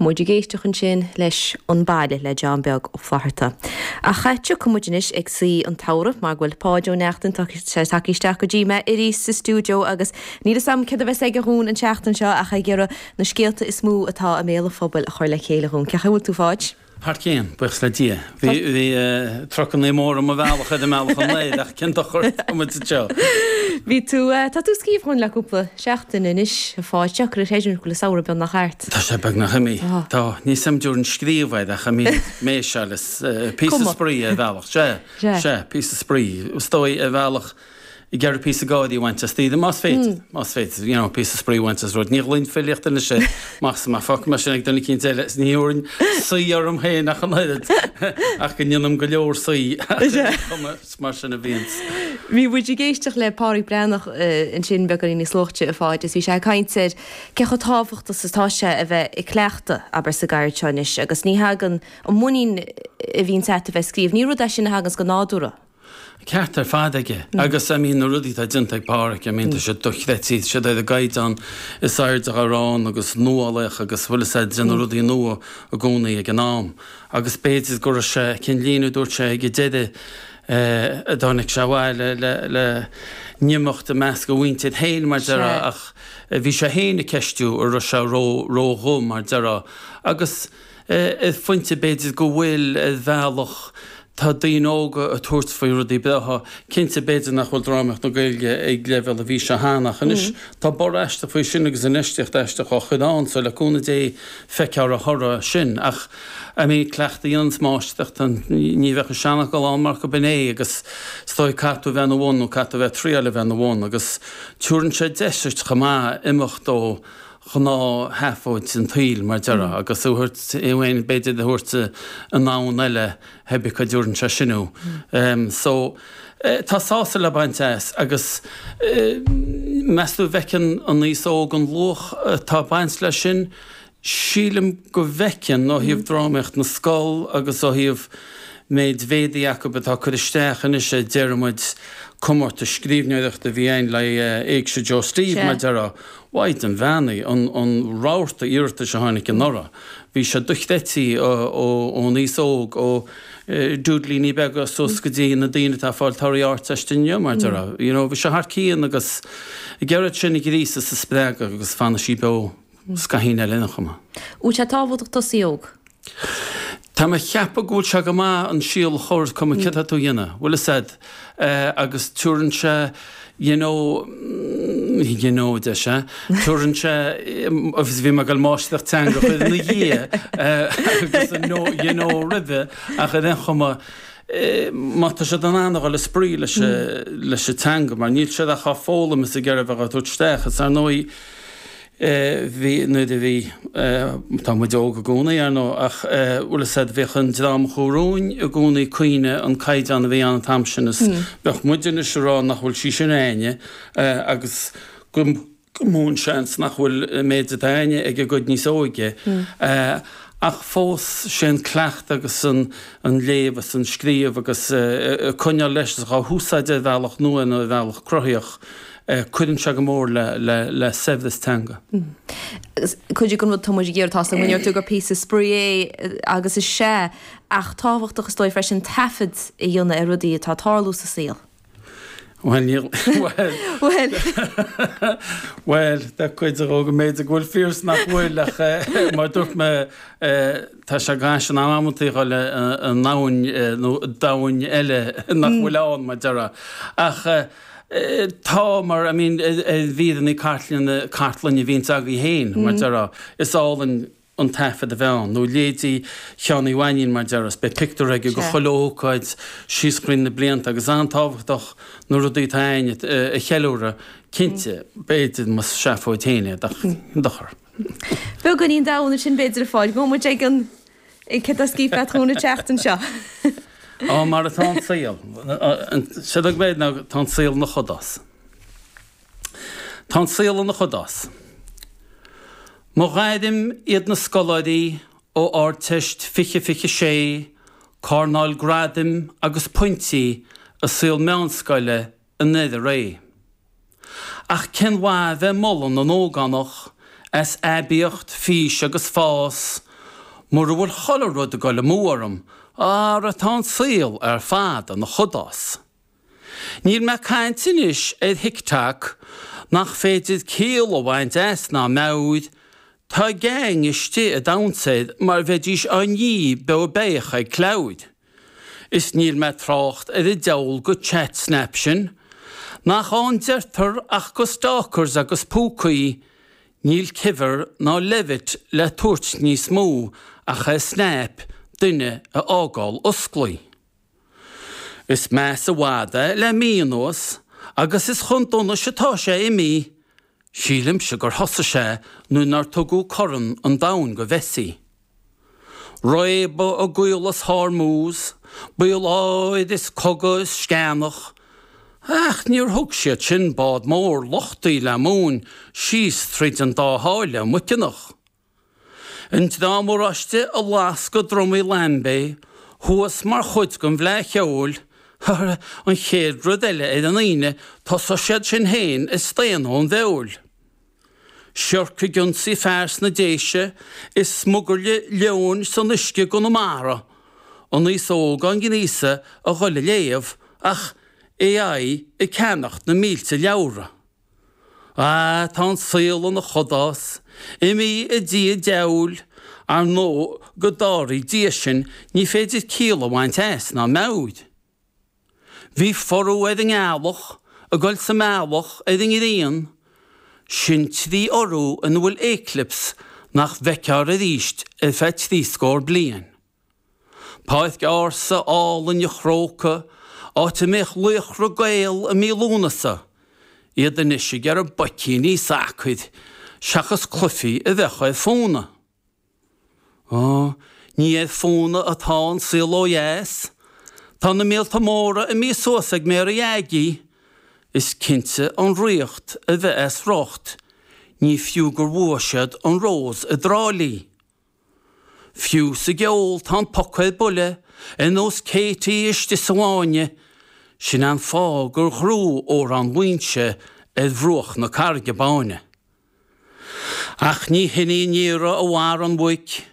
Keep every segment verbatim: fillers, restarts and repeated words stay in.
Muid ag éisteacht ansin leis An Baile le John Beag Ó Flatharta. Ach tiocfaidh muid anois ag saoi an tsamhraidh mar go bhfuil Páid Ó Neachtain tagtha isteach go dtí mé arís sa stiúideo agus níl a fhios agam céard a bheas aige dhúinn an tseachtain seo ach ag iarraidh na scéalta is mó atá i mbéal an phobail a chur le chéile dhúinn. Cén chaoi a bhfuil tú a Pháid? Thar cionn, buíochas le Dia. Bhí bhí trucannaí móra i mo bhealach ar an mbealach anoir ach cén dochar tá muid anseo. Bhí tú tá tú ag scríobh dhúinn le cúpla seachtain anois a Pháid deacair a chreidiúint go bhfuil an samhradh beagnach thart. Tá sé beagnach imithe. Tá níl a fhios agam an dtabharann scríobh air ach I mean méiseáil is píosa spraoi ar bhealach. Sea, sea, píosa spraoi. Is dóigh ar bhealach ag iarraidh píosa gáirí a bhaint as daoine, más féidir, más féidir, you know, píosa spraoi a bhaint as rud. Ní ghlaofainn filíocht anois air, amach is amach, fágfaidh mé sin ag duine eicínt eile, is ní thabharfainn saoi orm féin ach an oiread, ach go ndéanaim go leor saoi, is mar sin a bhíonns. Bhí muid ag éisteacht le Pádraig Breathnach ansin beagáinín níos luaithe a Pháid is bhí sé ag caint ar cé chomh tábhachtach is atá sé a bheith ag cleachtadh, abair, sa gceird seo anois agus ní thagann an muinín a bhíonns agat a bheith ag scríobh, ní rud é sin a thaganns go nádúrtha. Ceart ar fad aige. Agus I mean na rudaí atá déanta ag Páraic, I mean tá siad dochreidte, tá siad ar an gcaighdeán is airde dá raibh ann agus nuálaíoch agus bhfuil fhios a'd déanamh rudaí nua i gcónaí ag an am. Agus b'fhéidir go raibh sé, cén líne a dúirt sé ag an deireadh eh, a dtáinig sé abhaile le, le n-imeacht i measc a mhuintir féin mar déarfá ach bhí sé féin ag ceistiú an raibh sé ró, ró-dhubh mar déarfá. Agus eh, ar phointe b'fhéidir go bhfuil ar bhealach Tá daoine óga ag tabhairt faoi rudaí breátha. Cinnte, b'fhéidir nach bhfuil drámaíocht na Gaeilge ag leibhéal a bhí sé cheana, ach anois tá borradh aisteach faoi sin agus infheistíocht aisteach á chur ann, so le cúnamh Dé feicfear a thoradh sin. Ach, I mean, cleachtadh a dhéananns máistreacht, ní bheadh an seanfhocal ann mar gurb in é agus is dóigh caithfidh tú a bheith ina bhun nó caithfidh tú a bheith ag triáil a bheith ina bhun agus tabharann sé deis duit chomh maith imeacht ó ghnáthsheafóid an tsaoil, mar déarfá, agus thú a thabhairt, thú féin b'fhéidir a thabhairt i ndomhan eile, pé ar bith cá dtabharann sé sin thú. So, tá sásamh le baint as agus meas tú an bhfeiceann an aos óg an luach atá ag baint leis sin? Sílim go bhfeiceann, ó thaobh drámaíocht na scol agus ó thaobh méid mhéadaí acu atá ag cur isteach anois a déarfaidh muid, comórtas scríbhneoireachta a bhí ann le Éigse Joe Steve, mar déarfá. Mhaighdean Bheannaithe, an an rabharta iarratais a tháinig anuraidh, bhí sé dochreidte ón aos óg, ó dúidlíní beaga suas go dtí na daoine atá ag fáil torthaí Ardteiste inniu, mar déarfá. You know, bhí sé thar cionn agus ag iarraidh sin a ghríosadh is a spreagadh agus fanfaidh sí beo scaithín eile ina chuma. Bhfuil sé tábhachtach tosaí óg? Tá mé a cheapadh go bhfuil sé go maith an síol a chur, cuma céard atá tú a dhéanamh, bhfuil fhios a'd, agus tabharann sé, you know, you know, deir sé, tabharann sé, agus bhí mé ag dul máistreacht teanga a chur ina dhiaidh agus an know, you know roimhe, ach ar aon chuma, má tá siad in ann a dhul ag spraoi leis leis an teanga, mar níl siad ach á foghlaim is ag iarraidh a bheith á tabhairt isteach, is ar ndóigh, Bhí, nuair a bhí, tá muid óg i gcónaí, ar ndóigh, ach bhfuil fhios a'd, bhíodh an dream a chuaigh romhainn i gcónaí ag caoineadh an caighdeán a bhí ann an t-am sin is bheadh muid anois ag rá nach bhfuil sí sin a'inne agus go mó an seans nach bhfuil an méid atá a'inne ag an gcuid níos óige. Ach fós, sé an cleachtadh agus an léamh is an scríobh agus coinneáil leis is dhá húsáid ar bhealach nua nó ar bhealach cruthaitheach, cuireann sé go mór le saibhreas teanga. Cuid den rud atá muid ag iarraidh, tá a fhios agam go ndeir tú gur píosa spraoi é agus is ea, ach tábhachtach is dóigh freisin taifead a dhéanamh ar rudaí atá ag tarlú sa saol. Bhuel, níl, bhuel, Bhuel. bhuel, tá cuid de go mb'fhéidir go bhfuil fíor is nach bhfuil ach mar a dúirt mé tá sé gas in amantaí a dhul i ndomhan nó domhain eile nach bhfuil ann mar déarfá. Ach Tá, mar, I mean, ar mhíreanna cartlainne, cartlainne a bhíonns agaibh féin, mar déarfá, is álainn an taifead a bheith ann, nó leithéidí Sheáin Uí Mhainín, mar déarfá, is beidh pictiúr aige de chuile ócáid síos thríd na blianta agus an-tábhachtach na rudaí atá a'ainn a cheiliúradh, cinnte, b'fhéidir, más seafóid féin é, ach dochar. Beagáinín domhan ansin b'fhéidir a Pháid, gabhfaidh muid ag an. Céard atá scríofa agat dhúinn an tseachtain seo? Á, mar atá an saol. Séard a bheidh ná tá an saol ina chudás. Tá an saol ina chudás. Mo ghairm iad na scoláirí ó Ardteist fiche fiche sé, cárnáil gradaim agus pointí i saol meánscoile i nDoire Réidh. Ach cén mhaith bheith ag moladh na n-ógánach as aibíocht, fís agus fás, mura bhfuil chuile rud ag goil amú orm, ara tá an saol ar fad ina chudás. Níl mé ag caint anois ar TikTok, nach féidir ciall a bhaint as ná meabhair, tá gang istigh ag damhsa air mar bheidís á ní beo béach ag cleabhair. Is níl mé ag trácht ar an diabhal de chat snap sin, nach ann deirtear ach go stalkers agus púcaí, níl Kivver ná Levit le tabhairt níos mó ach é snap duine a fhágáil osclaí. Is measa i bhfad é le mí anuas agus is chun donais atá sé imithe, sílimse gur thosaigh sé nuair nár tugadh Corn an Domhain go Mhessi. Réabadh i gCaolas Hormuz, baol áir is cogadh is sceanach, ach níor thug siad sin bád mór luchtaí le móin síos tríd an dá sháile muiceanach. An Dream Oráiste a lasc a dtrumaí Lambay thuas mar chuid den bhFleadh Cheoil, an chéad rud eile ar an Aoine tosóidh siad sin féin ag staonadh ón bhfeoil. Siorc ag ionsaí fear sna Déise is smugairle leoin san uisce i gConamara, an aos óg á ngríosadh a dhul a léamh ach AI ag ceannacht na mílte leabhra. Ah, tá an saol ina chudás, imithe i dtigh an diabhail, ar ndóigh go dtarraí Dia sinn ní féidir ciall a bhaint as ná meabhair. Bhí forú ar an ngealach, ag goil sa mbealach ar an ngrian, sin trí fhorú ina bhfuil éiclips nach bhfeicfear arís ar feadh trí scór bliain. Páirc ársa álainn an Chrócaigh, áit a mbeadh laochra Gael i mí Lúnasa, iad anois ag iarraidh boicíní sacair seachas cluichí a bheadh ar fónamh. Ó, ní ar fónamh atá an saol ó dheas. Tá na míolta móra imithe suas ag Mary Aggie. Is cinnte an ríocht a bheith as riocht, ní fiú gur bhuaigh siad an Rós i dTrá Lí. Fiú sa gceol tá an poc ar buile, ar nós Katie istigh sa bhfáinne, sin an fáth gur ghnóthaigh Órán Mhaínse ar bhruach na Carraige Báine. Ach ní hin í an iarraidh a mharaigh an mhuic,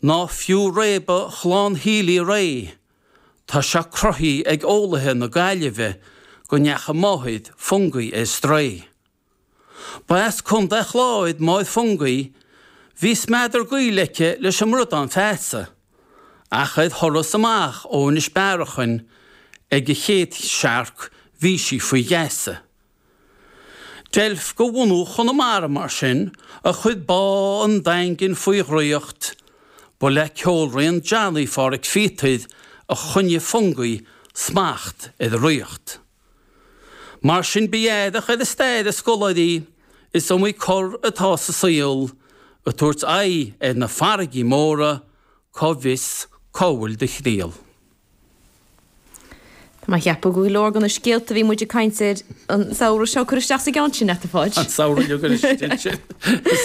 ná fiú réabadh chlann Healy-Rae. Tá sé cruthaithe ag eolaithe na Gaillimhe go ndeachaigh máthair Fungie ar strae. Ba as Contae Chláir máthair Fungie, bhí smeadar gaoil aici leis an mbradán feasa, ach ar thuras amach ó Inis Bearachain ag a chéad searc bhí sí faoi gheasa. Deilf de bhunadh Chonamara mar sin a chuir bá an Daingin faoi dhraíocht, ba le ceolrian Johnny Pháraic Phíotair a choinnigh Fungie smacht ar a ríocht. Mar sin bí aireach ar an stair, a scoláirí, is iomaí cor atá sa saol, ag tabhairt aghaidh ar na farraigí móra, cá bhfios cá bhfuil do thriall. Tá mé ag ceapadh go leor de na scéalta a bhí muid ag caint air an samhradh seo curtha isteach sa gceann sin, a Pháid. An samhradh a curtha isteach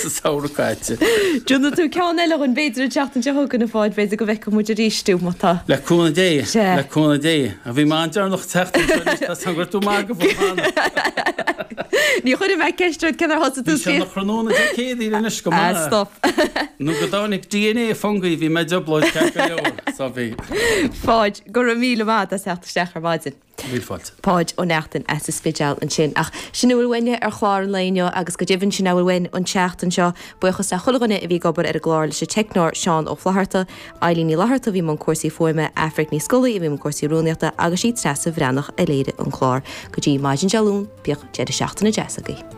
sa samhradh caite. Déanfaidh tú ceann eile dhúinn b'fhéidir an tseachtain seo chugainn a Pháid, b'fhéidir go bhfeicfidh muid arís tú má tá. Le cúnamh Dé, le cúnamh Dé. A bhí mé an-deireanach teacht anseo anois, tá san gur tú maith go bhfuil cheana. Ní chuirfidh mé ceist ort cén uair a thosaigh tú Bhí sé ina thráthnóna Dé Céadaoin anois go maith. Ah, stop. Nó go dtáinig DNA Fungie bhí mé i dtrioblóid ceart go leor, so bhí. Pháid, go raibh míle maith as theacht isteach ar maidin. Míle fáilte. Páid Ó Neachtain as an Spidéal ansin. Ach sin a bhfuil uainne ar chlár an lae inniu agus go deimhin sin a bhfuil uainn an tseachtain seo. Buíochas le chuile dhuine a bhí ag obair ar an gclár leis an teicneoir Seán Ó Flatharta, Eilín Ní Fhlatharta a bhí i mbun cúrsaí fuaime, Aifric Ní Scolaí a bhí i mbun cúrsaí rúnaíochta agus sí Treasa Bhreathnach a léirigh an clár. Go dtí maidin Dé Luain, bíodh deireadh seachtaine deas agaibh.